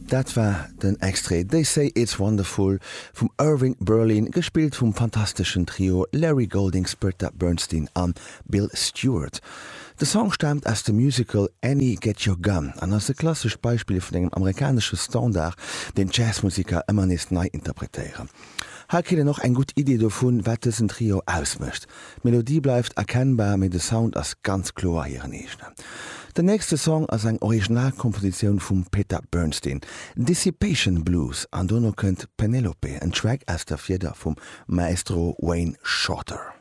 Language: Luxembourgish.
Dat war den Extrait They Say It's Wonderful vum Irving Berlin, gespillt vum fantasteschen Trio Larry Goldings, Bertha Bernstein an Bill Stewart. De Song staamt aus dem Musical Annie Get Your Gun an ass e klassescht Beispill vun engem amerikanesche Standard, deen d'Jazzmusiker ëmmer nees nei interpretéieren. Hei kritt een och eng gutt Idee dovun, wat dësen Trio ausmécht. D'Melodie bleift erkennbar, mee de Sound ass ganz kloer hiren eegenen. Den nächste Song ass eng Originalkompositioun vum Peter Bernstein, Dissipation Blues, an dono kënnt Penelope, en Track aus der Fieder vum Maestro Wayne Shorter.